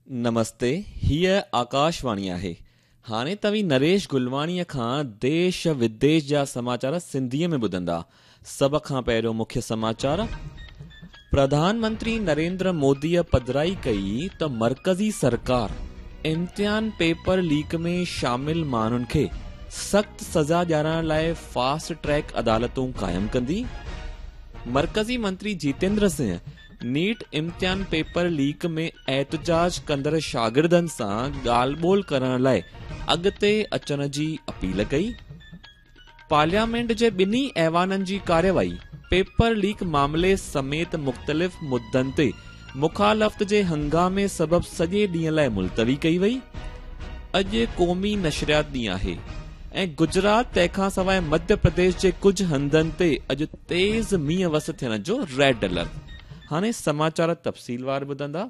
نمستي، هيء آڪاشواڻي آهي. هاڻي توهين نريش گلواڻيء کان ديش وديش جا سماچار سنڌيء ۾ ٻڌندا. سڀ کان پهريون مکيه سماچار. پرڌان منتري نريندر موديء پڌرائي ڪئي ته مرڪزي سرڪار امتحان پيپر ليڪ ۾ شامل ماڻهن کي سخت سزا ڏيارڻ لاء فاسٽ ٽريڪ عدالتون قائم ڪندي. مرڪزي منتري جيتيندر سنگهه نيٽ امتحان پيپر ليڪ ۾ احتجاج ڪندڙ شاگردن سان ڳالهه ٻولهه ڪرڻ لاء اڳتي اچڻ جي اپيل ڪئي. پارليامينٽ جي ٻنهي ايوانن جي ڪارروائي پيپر ليڪ معاملي سميت مختلف مدن تي مخالفت جي هنگامي سبب سڄي ڏينهن لاء ملتوي ڪئي وئي. اڄ قومي نشريات ڏينهن آهي ۽ گجرات تنهن کان سواء مڌيه پرديش جي ڪجهه هنڌن تي اڄ تيز مينهن وس ٿيڻ جو ريڊ الرٽ. هاڻي سماچار تفصيلوار ٻڌندا.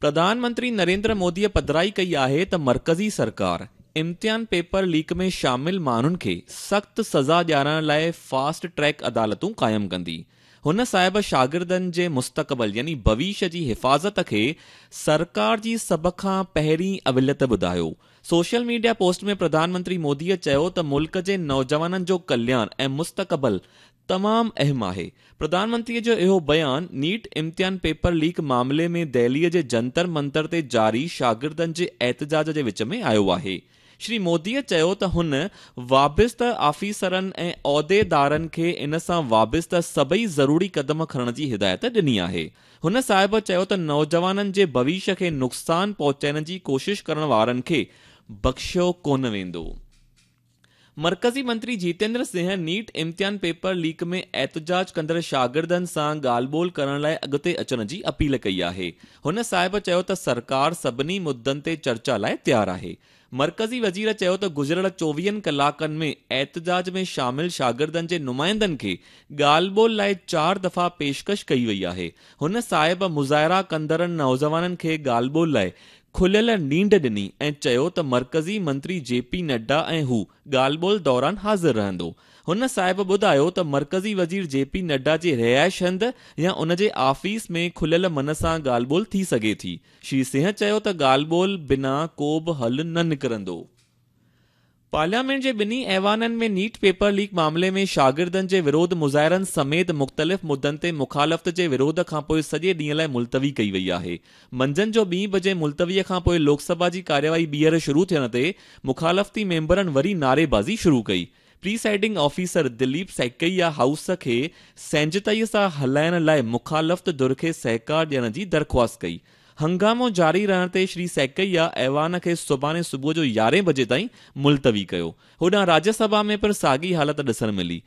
پرڌان منتري نريندر موديء پڌرائي ڪئي آهي ته مرڪزي سرڪار امتحان پيپر ليڪ ۾ شامل ماڻهن کي سخت سزا ڏيارڻ لاء فاسٽ ٽريڪ عدالتون قائم ڪندي. هن صاحب شاگردن جي مستقبل يعني ڀويش جي حفاظت کي سرڪار جي سڀ کان پهرين اوليت ٻڌايو. Social media post ۾ Pradhan Mantri موديء چيو ته ملڪ جي نوجوانن جو ڪلياڻ ۽ مستقبل تمام اهم آهي. پرڌان منتريء جو اهو بيان نيٽ امتحان پيپر ليڪ معاملي ۾ دهليء جي جنتر منتر تي جاري شاگردن جي احتجاج جي وچ ۾ آيو آهي. شري موديء چيو ته هن وابسته آفيسرن ۽ عهديدارن کي ان سان وابسته سڀئي ضروري قدم کڻڻ جي هدايت ڏني آهي. هن صاحب چيو ته نوجوانن جي ڀويش کي نقصان پهچائڻ جي ڪوشش ڪرڻ وارن کي بخشيو ڪونه ويندو. مرڪزي منتري جيتيندر سنگهه نيٽ امتحان پيپر ليڪ ۾ احتجاج ڪندڙ شاگردن سان ڳالهه ٻولهه ڪرڻ لاء اڳتي اچڻ جي اپيل ڪئي آهي. هن صاحب چيو ته سرڪار سڀني مدن تي چرچا لاء تيار آهي. مرڪزي وزير چيو ته گذريل چوويهن ڪلاڪن ۾ احتجاج ۾ شامل شاگردن جي نمائندن کي ڳالهه ٻولهه لاء چار دفعا پيشڪش ڪئي وئي آهي. هن صاحب مظاهرا ڪندڙن نوجوانن کي ڳالهه ٻولهه لاء کليل نينڍ ڏني ۽ چيو ته مرڪزي منتري جي پي نڊا ۽ هو ڳالهه ٻولهه دوران حاضر رهندو. هن صاحب ٻڌايو ته مرڪزي وزير جي پي نڊا جي رهائش هنڌ يا ان جي آفيس ۾ کليل من سان ڳالهه ٻولهه ٿي سگهي ٿي. شري سنگهه چيو ته ڳالهه ٻولهه بنا ڪو به حل نه نڪرندو. پارليامينٽ جي ٻنهي ايوانن ۾ نيٽ پيپر ليڪ معاملي ۾ شاگردن جي وروڌ مظاهرن سميت مختلف مدن تي مخالفت جي وروڌ کانپوء سڄي ڏينهن لاء ملتوي ڪئي وئي آهي. منجهند جو ٻين بجي ملتوي کانپوء لوڪ سڀا جي ڪارروائي ٻيهر شروع ٿيڻ تي مخالفتي ميمبرن وري نعريبازي شروع ڪئي. Presiding officer Dilip Saikia house کي سهنجتائي سان هلائڻ لاء مخالفت ڌر کي سهڪار ڏيڻ جي درخواست ڪئي. هنگامو جاري رهڻ تي شري سيڪيا ايوان کي سڀاڻي صبح جو يارهين بجي تائين ملتوي ڪيو. هوڏانهن راجيه سڀا ۾ پڻ ساڳي حالت ڏسڻ ملي.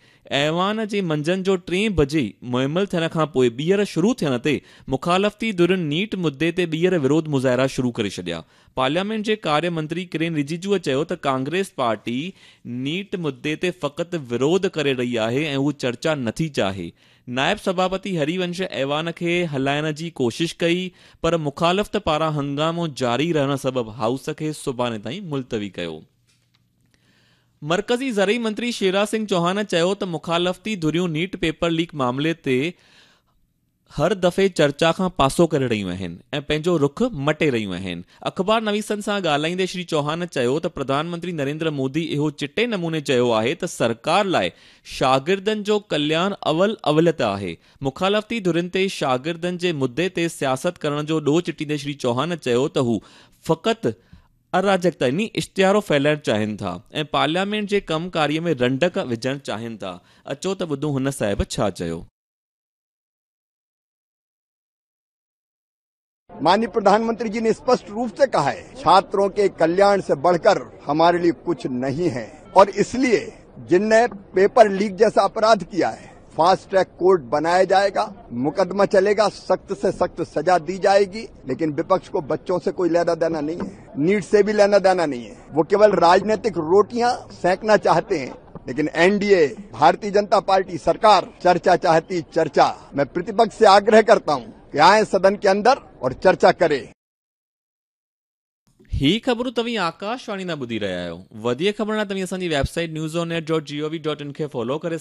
ايوان جي منجهند جو ٽين بجي معمل ٿيڻ کان پوء ٻيهر شروع ٿيڻ تي مخالفتي ڌرين نيٽ مدي تي ٻيهر وروڌ مظاهرا شروع ڪري ڇڏيا. پارليامينٽ جي ڪاريه منتري ڪرين رجيجوء چيو ته ڪانگريس پارٽي نيٽ مدي تي فقط وروڌ ڪري رهي آهي ۽ هو چرچا نٿي چاهي. نائب سڀاپتي هري ونش ايوان کي هلائڻ جي ڪوشش ڪئي پر مخالفت پاران هنگامو جاري رهڻ سبب هائوس کي سڀاڻي تائين ملتوي ڪيو. مرڪزي زرعي منتري شيوراج سنگهه چوهان چيو ته مخالفتي ڌريون نيٽ پيپر ليڪ معاملي تي هر دفعي چرچا کان پاسو ڪري رهيون آهن ۽ پنهنجو رخ مٽي رهيون آهن. اخبار نويسن سان ڳالهائيندي شري چوهان چيو ته پرڌان منتري نريندر مودي اهو چٽي نموني چيو آهي ته سرڪار لاء شاگردن جو ڪلياڻ اول اوليت آهي. مخالفتي ڌرين تي شاگردن جي مدي تي سياست ڪرڻ جو ڏوهه چٽيندي شري چوهان چيو ته هو فقط اراجڪتا يعني اشتعارو ڦهلائڻ چاهين ٿا ۽ پارليامينٽ جي ڪم ڪاري ۾ رنڊڪ وجهڻ چاهين ٿا. اچو ته ٻڌون هن صاحب ڇا چيو. माननीय प्रधानमंत्री जी ने स्पष्ट रूप से कहा है, छात्रों के कल्याण से बढ़कर हमारे लिए कुछ नहीं है और इसलिए जिनने पेपर लीक जैसा अपराध किया है, फास्ट ट्रैक कोर्ट बनाया जाएगा, मुकदमा चलेगा, सख्त से सख्त सजा दी जाएगी। लेकिन विपक्ष को बच्चों से कोई लेना देना नहीं है, नीट से भी लेना देना नहीं है। वो केवल राजनीतिक रोटियां सेंकना चाहते हैं, लेकिन एनडीए, भारतीय जनता पार्टी सरकार चर्चा चाहती चर्चा। मैं प्रतिपक्ष से आग्रह करता हूं कि आए सदन के अंदर और चर्चा करें। هي خبرون توهين آڪاشواڻي تان ٻڌي رهيا آهيو. وڌيڪ خبرن لاء توهين اسان جي website news on air dot G O V dot in کي فالو ڪري